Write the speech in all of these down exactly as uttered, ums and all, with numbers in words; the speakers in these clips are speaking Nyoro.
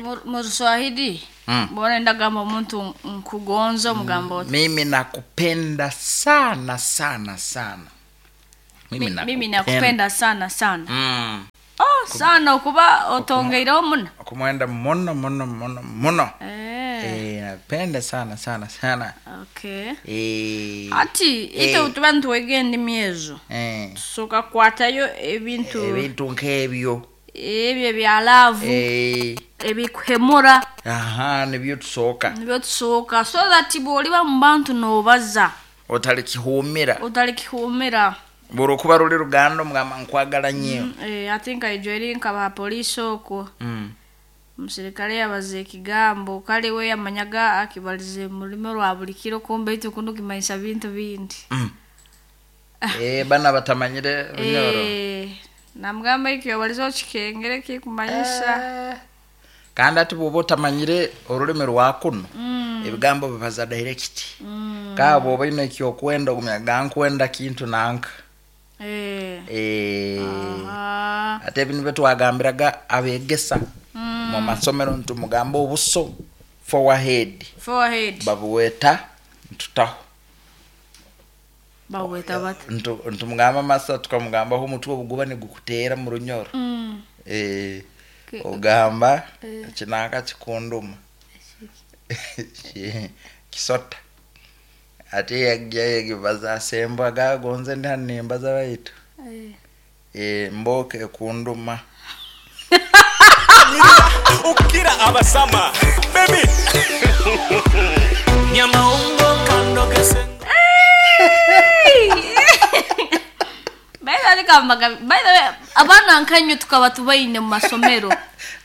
Mu- mu Ruswahili Mm. mbona ndagamba omuntu nkugonza omugamba oti Mimi nakupenda sana sana sana. Mimi Mi- mimi nakupenda sana sana. Mm. Oh, sana okuba otongeireho muno. Okumwenda muno muno muno muno. Eh, Eh, napenda sana sana sana. okay. Eh. Ati Eh. ite tuba nitwega endimi ezo Eh. tusooka kukwatayo ebintu Ebintu nk'ebyo. ebyo ebya laavu, Eh. ebikuhemura. Aha, nibyo tusooka. Nibyo tusooka so that bw'oliba mu bantu n'obaza Otalikihumira. otalikihumira. Buli okuba luli luganda omugamba nkwagala nnyo. Eh, ati nkaijwa eri nkaba poliisi okwo, Mm. omusirikale yabaza ekigambo kale we yamanyaga akibalize mu rulimi rwa buli kiro, kumbe itwe kunu kimanyisa bintu bindi. Mm. Eh, bana batamanyire Runyoro. Eh, namugamba ekyo obalize okikengere kikumanyisa. Eh. Kandi ati bw'oba otamanyire orulimi rwa kuno, Mm. ebigambo bibaza direct. Mm. Ka bw'oba oyine ekyokwenda ogumya gankwenda kintu nanka. Eh. Eh. Aha. Ate ebintu byetwagambiraga abegesa Mm. mu masomero ntumugamba obuso forehead Forehead. babuweta ntutaho. Baweta bata? Ntu- ntumugamba masa tukamugambaho omutwe obuguba nigukuteera mu Runyoro. Mm. Eh, Ke- ogamba Eh. kinanka kikunduma kisota ate yajja yegibaza asembwa gagonze ndi hano nimbaza baitu. Eh. Eh, mbooka ekunduma. Ukira abasama baby nyamaungo kandogese. By the way, kambaga, by the way, abaana nkanywe tukaba tubaine mu masomero,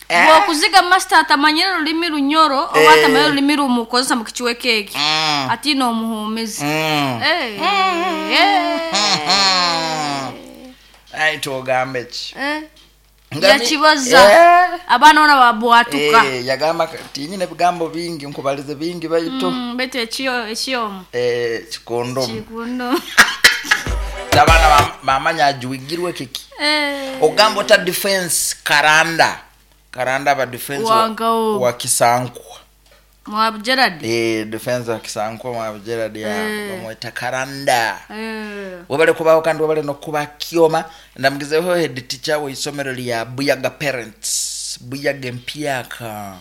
bw'okuziga master atamanyire rulimi Runyoro oba Eh. atamanyire rulimi rumukozesa mu kichweka eki, Mm. ati n'omuhuumizi. Mm. Eh, eh. Ai tuogambe ki? Eh. Nga mi- Yakibaza. Eh. Abaana bona babwatuka. Eh, yagamba tinyine ebigambo bingi nkubalize bingi baitu Mm, baitu ekyo ekyomu eh, kikundumu. Kikundo. Abaana bam- bamanya ajuigirwe kiki. Eh. Ogamba ota defense karanda karanda aba defense wa, Wangawo. wa Kisankwa. Mwabu Gerard. Eh, defense wa Kisankwa mwa Gerard ya Eh. bamweta karanda. Eh. Webale kubaho kandi webale nokuba kyoma. Ndamugizeho head teacher w'isomero lya Buyaga Parents, Buyaga empyaka,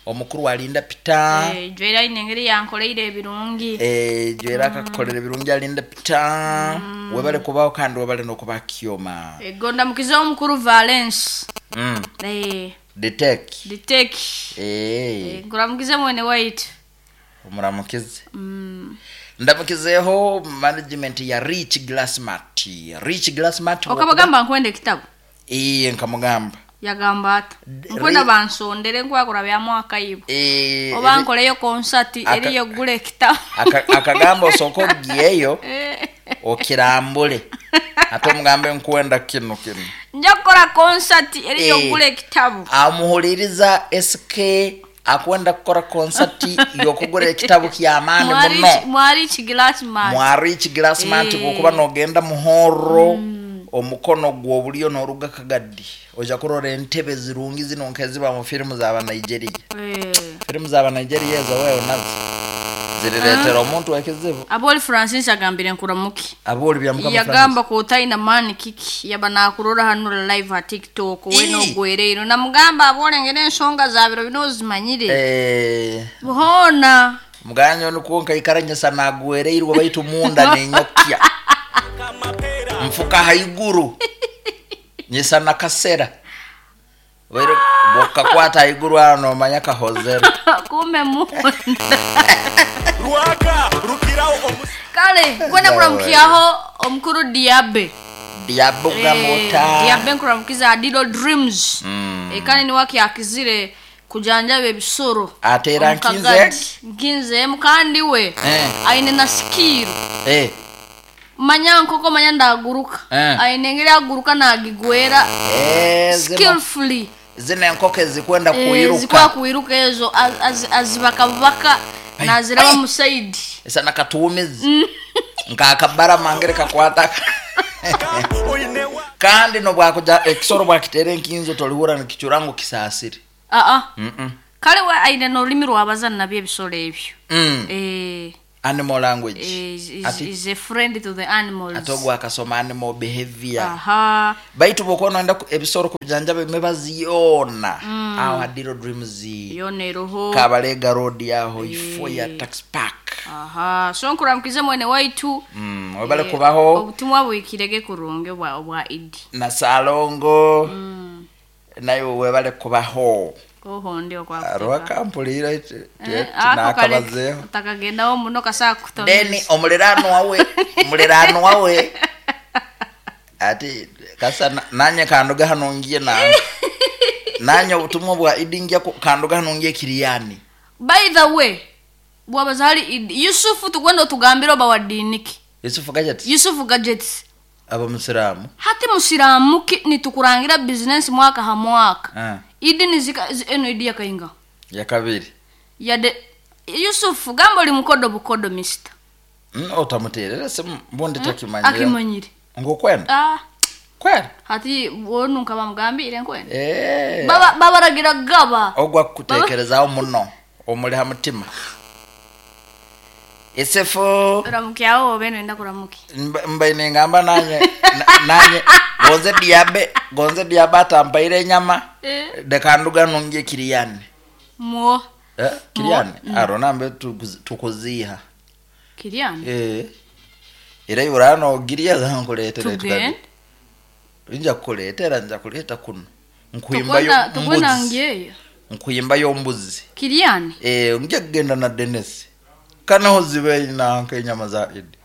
omukuru alinda Peter. Eh, jwera ine engeri yankoleire ebirungi. Eh, jwera akakukolera ebirungi alinda Peter. Webale kubaho kandi webale nokuba kyoma. Ego ndamukizeho omukuru Valence. mm. Eh, Detec. Ditek. Eh. Eh, nkuramukize mwene waitu. Omuramukize. Mm. Ndamukizeho management ya Rich Glassmart, Rich Glassmart. Okabagamba nkwenda ekitabo? Iye, nkamugamba. Yagamba ata? D- Nkwenda ri- bansondere nkwakura bya mwaka ibo. Eh, Oba ri- nkoleyo konsati Aka- eriyo gula ekitabo. aka- akagamba osooka ogiyeyo Eh. okirambule ate omugambe nkwenda kino kino. Nja kukora konsati eriyo Eh. gula ekitabo. Amuhuliriza S K akwenda kukora konsati yokugura ekitabo kyamaani Mwari muno. Mwari Chigilasmat. Mwa Rich Glassmart. Eh. Bwokuba nogenda muhoro omukono gw'obulyo n'oruga kagadi oja kurora entebe zirungi zino nkeziba mu firimu zaba Nigeria. Eh. Firimu zaba Nigeria ezo wewe nazo ziriretera omuntu ekizibu. Aboli Francis agambire nkuramuki. Aboli bya Mukama. Yagamba ko otalina maani kiki yaba nakurora hano live ha TikTok we Ii. nogwereiro namugamba abolengera ensonga za biro bino ozimanyire Eh, buhona. Muganya nikuo nkaikaranyisa nagwereirwe baitu munda ninyokya nfuka haiguru nyisa nakasera Bairu bokakwata haiguru ano nomanya kahozera. Kumbe munda. Rwaka rukiraho omu Kale kwenda kuramukiaho omukuru Diabe. Diabugamota. Eh, Diabe nkuramukiza Adilo Dreams. Mm. Eh, kandi niwaki akizire kujanjaba ebisoro. Ateera. Omukagadi. Nkinze. Nkinzeemu kandi we Eh. aine na sikiru. Eh, Manya nkoko manya ndaguruka. Eh. Aine engeri aguruka nagigwera eh, zino skillfully. Zino enkoko ezikwenda Eh, kuiruka. zikwa kuiruka ezo az- az- azibakabaka Ai, naziraba ai. mu side. Esa nakatuumizi nkakabara mangere kakwata. Oinewa. Kandi nobwakuja ekisoro bwakiteera enkinzo tolihura nikichura ngu kisaasire. Aa kale we aine n'olulimi lwabaza nabyo ebisolo ebyo. Mm. Eh, Animal language. is, is, Ati- is a friend to the animals. Ate ogwo akasoma animal behavior. Aha. Baitu bwokuba noyenda ku- ebisoro kubijanjaba emibazi yoona aho hadiro dreams Yona eroho. Kabalega road aho ifo ya tax park. Aha, so nkuramukize mwene waitu. Mm, webale Eh, kubaho obutumwa bwikirege kurungi obwa obwa idi. Na salongo naye webale kubaho. Oho ndi okwa Rwakampulira Eh, ako kale nakabazeeho. utakagendawo muno kasaa Then kutomeza. omuliraano wawe omuliraano wawe ati kasa na- nanye kanduga hano ngiye nange nanye obutumwa bwa idi ngia ku- kanduga hano ngiye kiriyani. By the way, bwabazali idi Yusufu tugwenda otugambire oba wa diiniki. Yusufu Gadgets. Yusufu Gadgets. Aba musiraamu. Hati musiraamu ki nitukurangira business mwaka ha mwaka. Ah. Idi nizika zi- eno idi yakainga. Ya kabiri. Yade Yusufu gamba oli mukodo bukodo mister. Mm, otamuterera simu mbundi takimanyire. Akimanyire. Ngokwenda. Ah, Kwenda. hati wonu nkaba mugambire nkwenda. Eh. Baba babaragira gaba. Ogwa kutekerezaawo muno omuli ha mutima. Esefu Ramukyawo obe nenda kuramuki. mba- mbaine ngamba nanye na- nanye gonze diabe gonze diabe atampaire enyama. Eh. Dekanduga nungie kiriyani. Mwo Eh, kiriyani aro nambe tukuzi- tukuziha. Kiriani. Eh. Era iurano giria zankuleetera. Tugende. Nja kukuleetera nja kuleeta kuno nkuyimbayo Tukwenda tukwenda mbuzi. ngeyo. Nkuyimbayo mbuzi. Kiriani. Eh, nja kugenda na Dennis kanaho zibe nanka enyama za idi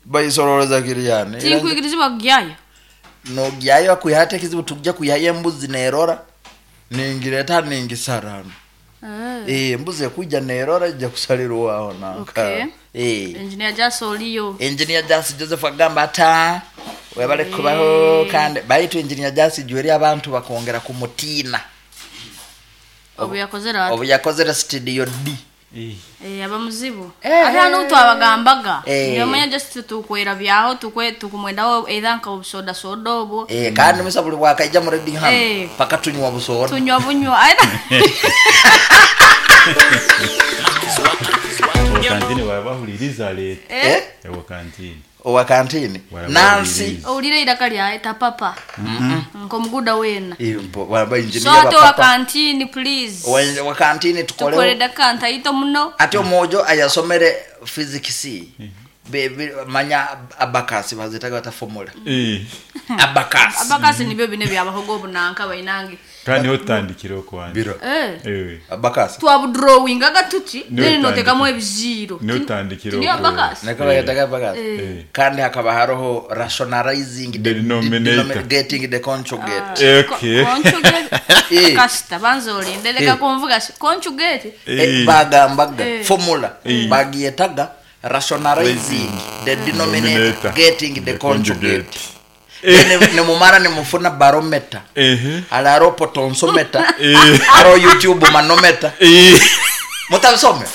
bayisoroleza kiriyani. Era nja- Tinkwikirizibwa kugyayo. nogyayo akuyate ekizibu tujja kuyayo embuzi nerora ningireta ningisarano. Eh. Eh, embuzi ekujja nerora ijja kusalirwaho nanka. Okay. Eh. Engineer Jaso oliyo. Engineer Jasi Joseph agamba ata webale kubaho kandi baitu Engineer Jasi jweri abantu bakongera kumutiina. Obu yakozera ati. Obu yakozera studio D. Eh, aba muzibu. Eh. Ate hano twabagambaga. Eh. Nyamanya just tukwera byaho tukwe tukumwendaho either nka obusoda soda obwo. Eh, kandi musa buli bwakaija mu reading hano Eh. paka tunywa busoda. Tunywa bunywa. Aida. Kantini wabahuliriza leta. Eh? Ewa kantini. Owa kantini. Wala Nancy. bahuliriza. Owulira iraka lyaye tapapa. Nkomuguda wena. Eh, mpo- waba engineer So ate ba owa papa. kantini please. Owa- wa kantini Tukore tukoleho. dakika ntaito muno. Ate omwojo ayasomere physics. Be, be, manya abakasi bazitaga bata formula. Eh. Abakasi. Abakasi nibyo bine byabahogo obunanka bainange. Kandi otandikira okwanza. Biro. Eh. Eh. Abakasi. Twabudrawingaga tuti Niwe then notekamu otandikira. ebiziro. Niwe otandikira Niyo okwo. abakasi. Nakaba yataga abakasi. Eh. Kandi hakaba haroho rationalizing the Denominator. denomi- getting the conjugate. Eh, Okay. Conjugate. Eh. Kasita banza olinde leka Eh. kunvuga si conjugate. Eh, Eh. bagambaga Eh. formula Eh. bagiyetaga rationalizing the denominator Denominator. getting the conjugate. Eh. Then nemumara nemufuna barometer. Eh. Alaro potonsometa. Eh. Aro YouTube manometer. Eh. Mutabisome.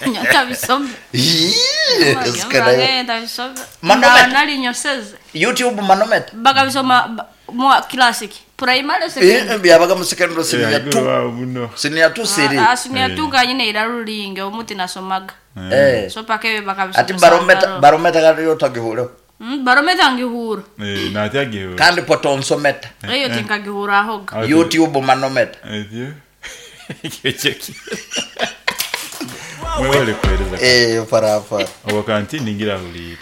Ntabisome. Yes, kana- Ntabisome. Manometer. Nali nyoseze. YouTube manometer. Bakabisoma ba- mwa classic. Primary secondary. Eh, byabaga mu secondary senior Eh, two. wawo muno. Senior two siri. Ah, senior two kanyine irarulinge omuti nasomaga. Eh. So paka ebyo bakabisoma. Ati barometer barometer kariyo tagihureho. Mm, barometer ngihura. Eh, natyagiwe. Kandi potonsometa. Eyo tinkagihura ahoga. Ati- YouTube manometer. Etyo. Ekyo. Mwebale kuweereza. Eh, farafara. Owa kantini ngira hulira.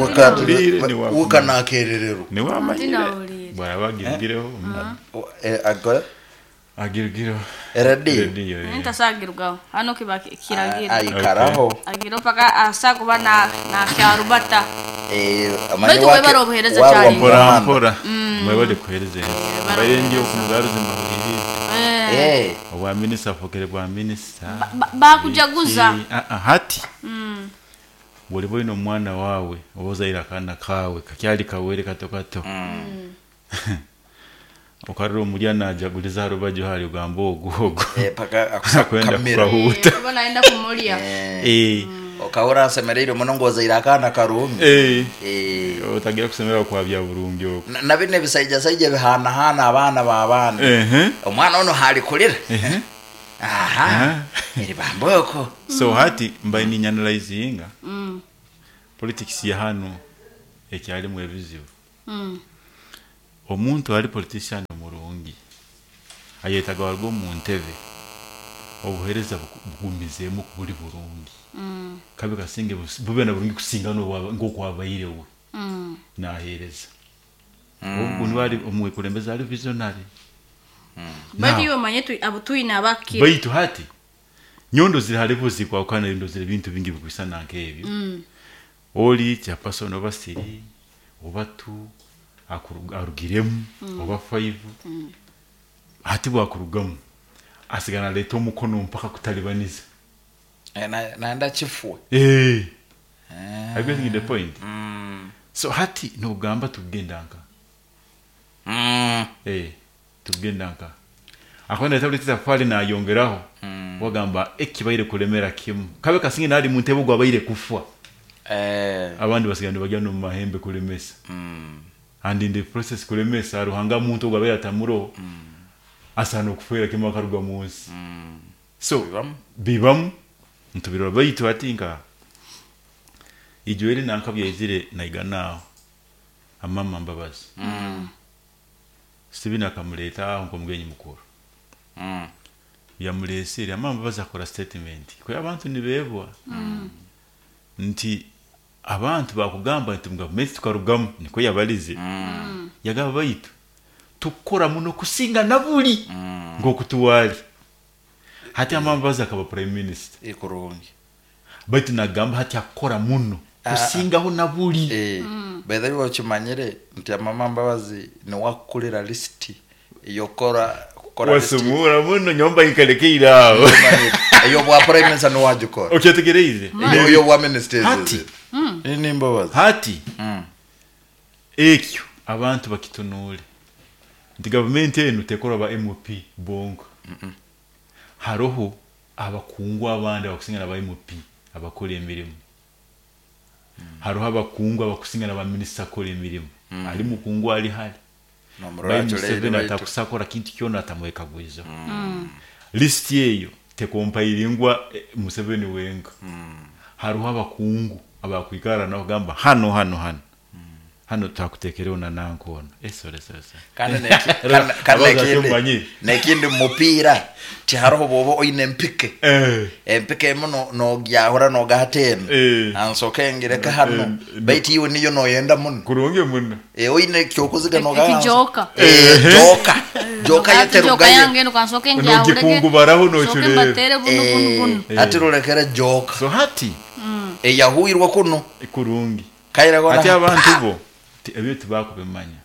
Wakati Ulire ni wakumanya. ukanakererero. Ni wamanyire. Ndinawulira. Bwaba agirigireho. Eh, agora Agirigireho. ready. Rediyo. eh. Ntasagirwaho. Hano kiba kiragira. Aikaraho. Agira paka asa kuba na na kyarubata. Eh, Baitu webale obuheereza wa- kyali. wa- Mpora muhanda. mpora. Mwebale kuweereza. Mbaire ndi okumugaruza mbahulirize. Eh. Eh, Obwa minisita afokere bwa minisita. Ba- Bakujaguza. Eh, ah, ah, hati bwoliba olina omwana waawe oba ozaire akaana kaawe kakyali kawere kato kato okarora omulya najaguliza ha rubaju hali ogamba ogwo ogwo eh, paka akwenda akusakamira. kukahuuta. Oba naenda kumulya. Eh, Okahura nsemereire muno ngozaire akaana karungi. Eh. Eh. Otagira kusemera kwa bya burungi okwo. Na- na bino ebisaijasaija bihanahana abaana b'abaana. Ehe. Omwana ono halikulira. Ehe. Aha. Aha. Eri bamboko. So hati mbaye ninyanalyzinga politics ya hano ekyalimu ebizibu. Mm. Omuntu ali politician murungi ayetaga waruga omu ntebe obuhereza buku- bugumizeemu buli burungi Mm. kabe kasinge bus- bube na burungi kusinga n'obwa- nk'okwabairewe Mm. nahereza obu niwe ali omwekulembeze ali visionary. Baitu Now, iwe omanye tu- abo twine abakira. Baitu hati nyondo ziri hariho zikwahukana, ndo ziri bintu bingi bikwisana nk'ebyo. Mm. Oli chairperson oba three oba two akuruga- arugiremu oba five, hati bwakurugamu asigana aleta omukono mpaka kutalibaniza. Eh, na- naenda kifwe. Eh. Are you getting the point? So hati nogamba tugenda nka Mm. eh tugenda nka akwenda tabuleti tafali nayongeraho wagamba ekibaire kulemera kimu kabe kasinge nali mu ntebe gwabaire kufa. Eh. Abandi basigana nibagenda no mu mahembe kulemesa Mm. and in the process kulemesa ruhanga muntu ogwabaire atamuro asana okufera kimu akaruga mu nsi. So Bibamu. bibamu ntubirora baitu ati nka ijo eri nanka byaizire naiganaho amama Mbabazi Mm. Steven akamuleta aho nk'omugenyi mukuru. Mm. Yamulesere amama Mbabazi akora statement kwe abantu nibebwa nti abantu bakugamba nti mu gavumenti tukarugamu niko yabalize yagaba baitu tukora muno kusinga na buli ng'okutuwali hati amama Mbabazi akaba prime minister. Ikurungi. Baitu nagamba hati akora muno kusingaho na buli. Eh. By the way, okimanyire nti amama Mbabazi niwakukulira lisiti eyokora kukora lisiti. Wasumura muno nyomba ikalekeireaho. Ey'obwa prime minister niwagikora. Okyetegereize. Ey'obwa minister. Hati. Ni Mbabazi. Hati Mm. ekyo abantu bakitunuule nti gavumenti enu tekora ba M P bonka, haroho abakungu abandi abakusinga na ba M P abakora emirimu, haroho abakungu abakusinga na ba minisita akora emirimu, ali mukungu ali hali Nomurora bai aculeire Museveni baitu. atakusakora kintu kyona atamwekagwiza lisiti eyo tekompairingwa eh, Museveni wenka. Hariho abakungu abakwikara nabo gamba hano hano hano hano twakutekereho na nankona. Eh, sorry, sorry, sorry. Kandi neki- kandi- kandi Abaza nekindi tumanyire. Nekindi mumupiira tihariho bwoba oine empike Eh, empike emu no- nogyahura nogahatena Eh. ansoke ngireke hano Eh, baitu iwe niyo noyenda muno. Kurungi muno. Eh, oine kyokuziga Ekijoka. joka joka Ati joka yeterugayo. yange eno kansoke ngyahurege. Nogikungubaraho Soke nochurere. mbatere buno buno buno. Eh, ati rulekere joka So hati eyahuirwe kuno kurungi kairagona. Ati abantu bo ti- ebyo tibakubimanya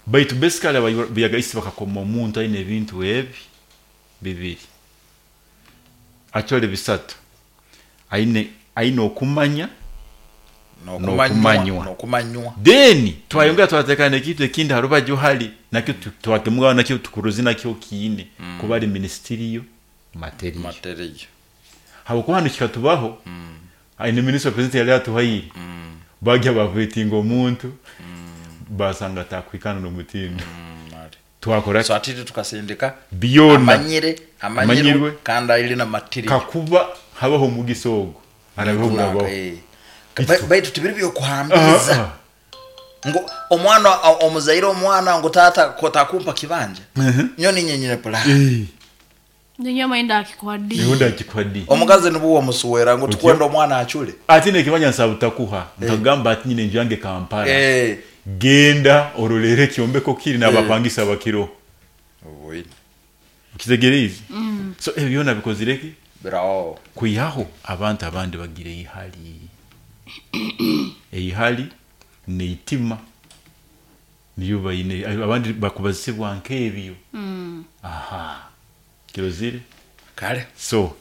baitu basically abayagaisi bakakoma omuntu aine ebintu ebi bibiri, actually bisatu, aine aine okumanya nokumanywa Nokumanywa. Nokumanywa. Then twayongera twatekana ekintu ekindi harubaju hali nakyo tu- twakemugaho nakyo tukuruzi nakyo kiine kuba ari ministerial material. Materiyo. Habwokuba hano kikatubaho aine minisita president yali atuhaire bagya bavetinga omuntu basanga atakwikana n'omutindo twakora So atiti tukasindika byona amanyire amanyirwe Amanyirwe. kandi aili na materiyo. Kakuba habaho omugisa ogwo arabeho burabaho. Eh. Ba- baitu tibiri byokuhambiriza Ah, ah. ngo omwana o- omuzaire omwana ngo tata kotakumpa kibanja nyo ninyenyine pula. Eh, Ninyo mainda akikwaddi. niho ndakikwa di. Omukazi nibuwa omusuwera ngo tukwenda omwana acule. Ati nekibanja nsabutakuha nkagamba ati nyine enju yange Kampala, Eh. genda orolere ekyombeko kiri n'abapangisa bakiro. Obwine. Okitegereize? So ebyo byona bikozireki Birawo. kwihaho abantu abandi bagira eihali eihali neitima niyo baine abandi bakubazisibwa nk'ebyo. Aha kirozire. Kale. So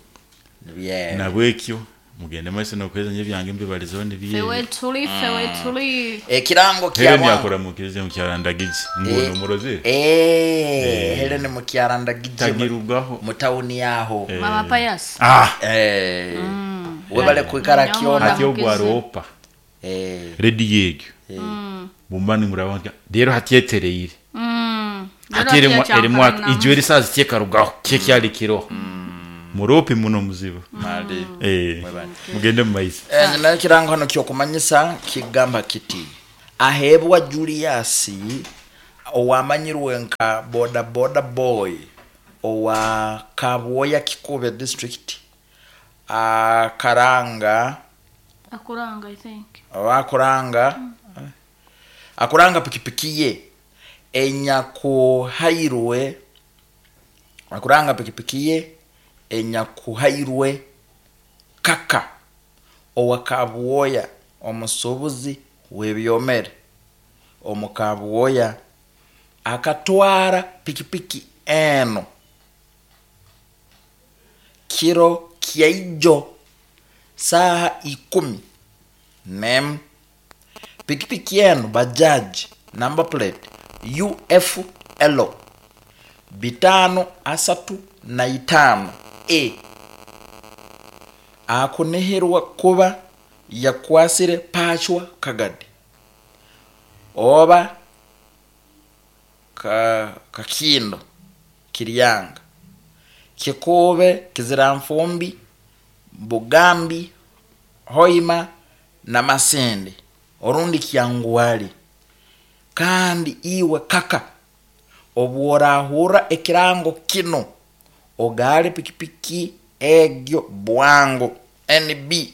Nibye. nabwekyo mugende maiso nokwezanya ebyange mbibalizeho nibye. Fewe tuli, fewe tuli. Ekirango Helen kya yakora mukirize mukyarandagije ngono muroze. Eh, Helen mukyarandagije Tagirugaho. mu tawuni yaho. Mama Pius. Ah. Eh. Webale kwikara kyona. Hati ogwaropa Eh. rediyo egyo bumba nimuraba rero hatyetereire. Mm. Hati erimu erimu ijwe erisazi kyekarugaho kyekyali kiroho murope muno muzibu. Mali. Eh, mugende mu maizi. Eh, nayo kirango hano kyokumanyisa kigamba kiti ahebwa Julius owamanyirwe nka boda boda boy owa Kabwoya Kikube district akaranga Akuranga, I think. akuranga mm. akuranga pikipiki ye enyakuhairwe akuranga pikipiki ye enyakuhairwe kaka owa Kabwoya omusubuzi w'ebyomere omu Kabwoya akatwara pikipiki eno kiro kyaijo saha ikumi nem pikipiki eno bajaji number plate U F L bitano asatu na itano E akuneherwa kuba yakwasire pachwa kagadi oba ka kakindo kiryanga kikube kiziramfumbi Bugambi Hoima na Masende orundi kyangwali. Kandi iwe kaka obworahura ekirango kino ogale pikipiki egyo bwango N B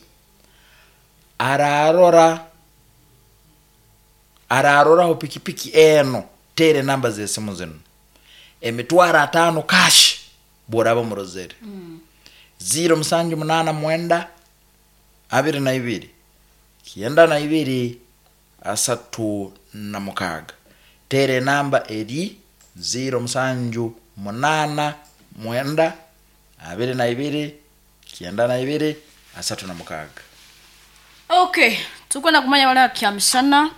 ararora ararora ho pikipiki eno tere namba z'esimu zino emitwaro atano cash boraba murozere mm. zero musanju munana mwenda abiri na ibiri kienda na ibiri asatu na mukaga tere namba eri zero musanju munana mwenda abiri na ibiri kienda na ibiri asatu na mukaga. Okay, tukwenda kumanya wala kyamishana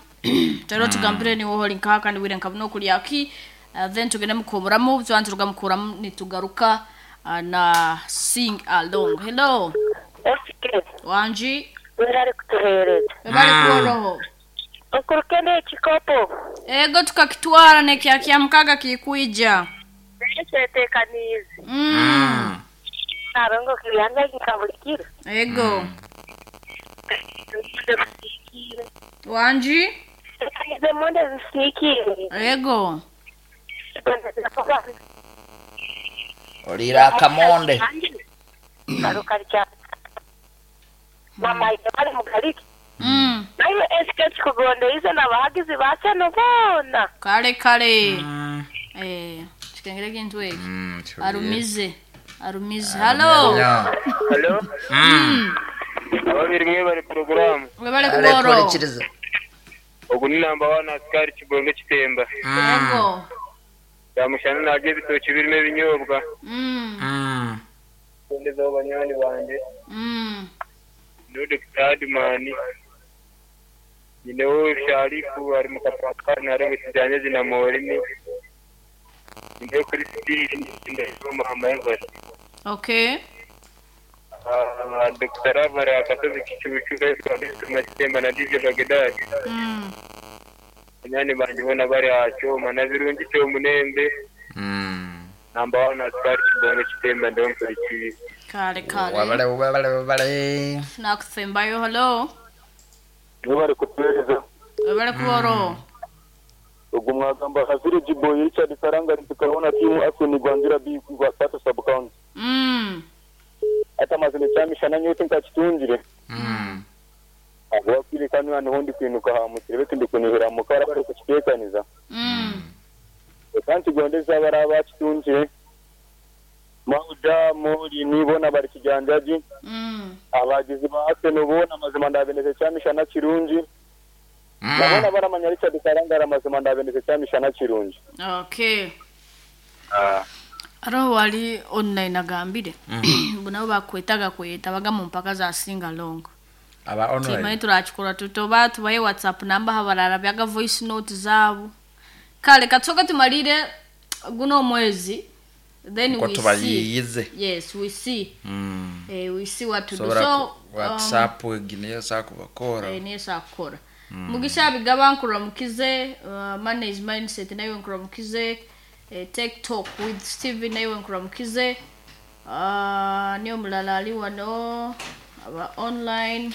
tero tugambire ni woho linkaka kandi wire nkabuno kulyaki uh, then tugende mukomuramu twanze tugamukuramu nitugaruka uh, na sing along. Hello. Okay. Wanji Werari kutuhereza. Webale kuoroho. Okurukende ekikopo. Ego tukakitwara nekya kyamkaga kikuija. Nechetekanize. Mm. Narongo kiyanga kikabulikira. Ego. Wanji Tekanize monde zisikire. Ego. Olira kamonde. Karukarcha. Mama bari mugariki. Mm. Nayo S K kugonde ize nabahagizi bacano bona. Kale kale. Mm. Eh, chikengere kintu eki. Mm, Arumize. Arumize. Hello. Hello. Mm. Ababiri mwe bari program. Webale kuboro. Ogu ni namba one askari Kibonge Kitemba. Ego. Yamushana nabyo ebitoki birimo ebinyobwa. Mm. Mm. Kundezaho banywani banje. Mm. Ndi Doctor Admani. Ninewo Sharifu ari mu kapatwari narenga kijyanye zina Morimi. Ndi kuri Sitiri ndazo Muhammad Ngwari. Okay. Ah, Doctor Avara akasozi kicucu kwa Kitemba na D J Bagdad. Mm. Banywani banje bona bari acyoma na birungi cyo munembe. Mm. Namba one askari Kibonge Kitemba ndo mpurikiye. Kale kale. Wabale wabale wabale. Nakusembayo hello. Nibo bari kutuhereza. Webale kuboro. Ubwo mwagamba Hazire Jiboyi Richard Karanga tukabona timu Asoni Gwanzira B kwa sub county. Mm. Ata mazine cyamishana nyote nkakitungire. Mm. Abo kwiri kanu hano hondi kwinuka ha mukire betu ndikunihira mukara bari kukitekaniza. Mm. Kandi gondeza baraba kitungire. Mauda muri nibona bari kijanjaji. Mm. Abagizi ba Asoni bona mazima ndabeneze cyamishana kirungi. Mm. Nabona baramanya Richard Karanga amazima ndabeneze cyamishana kirungi. Okay. Ah. Aroho wali online agambire. Mm. Nabo bakwetaga kweta baga mu mpaka za sing along. Aba online. Timanyi turakikora tutoba tubaye WhatsApp namba habarara byaga voice note zabo. Kale katsoka tumalire guno mwezi Then Nko we see. tubayiyize. Yes, we see. Mm. Eh, we see what to do. Sobora So ku- WhatsApp egi niyo sakubakora. um, niyo sakukora. Mugisha bigaba nkuramukize, uh, manage mindset nayo nkuramukize, eh, take talk with Steven nayo nkuramukize. Uh, niyo mulala ali wano aba online.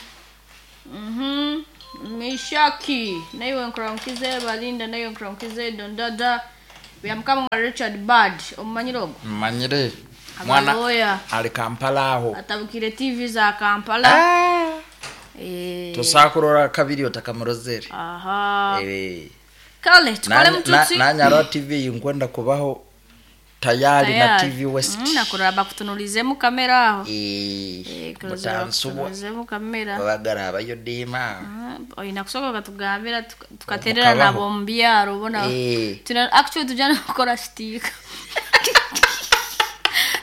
Mhm. Mishaki nayo nkuramukize, Balinda nayo nkuramukize, Dondada. Byamukama wa Richard Bad omumanyire ogwo Mmanyire. Mwana Abaloya. ali Kampala aho. Atabukire T V za Kampala. Ah. Eh, Tosakurora kabiri otakamurozere. aha. Eh. Kale tukole Nanya- mututsi. na- Nanyaro T V nkwenda kubaho tayari na T V West. Mm, nakurora bakutunulizemu kamera aho. Eh, Eh, kurozera mutansubwa bakutunulizemu kamera. babagara abayodima. Ah, oyina kusoboka katugambira tuka- tukaterera Mukabaho. nabo mu byaro bona. Eh. Tuna actually tujana kukora stick.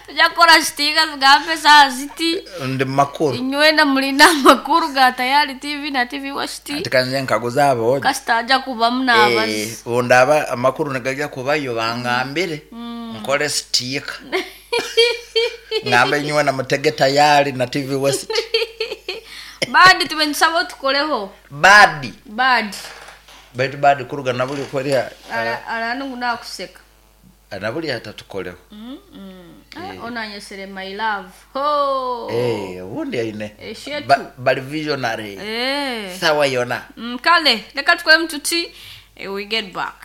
Tujja kukora stick tugambe saa ziti. Ndi makuru. Inywena mulina amakuru ga Tayari T V na T V West. Ati kanje nkaguza abo. Kasita ajja kubamu n'abazi. Eh, bundaba amakuru nigajya kubayo bangambire nkole stick. Ngambe nywe na mutege tayari na T V West. Badi tumenisaba tukoleho. Badi. Badi. Baitu badi kuruga nabuli kweriya Ara aranungu nakuseka. nabuli atatukoleho. Ah, onanyesere my love. Ho. Eh, ubundi aine. Eshetu. Ba- Bali visionary. Eh. Sawa yona. Mm, kale leka tukole mtuti eh, we get back.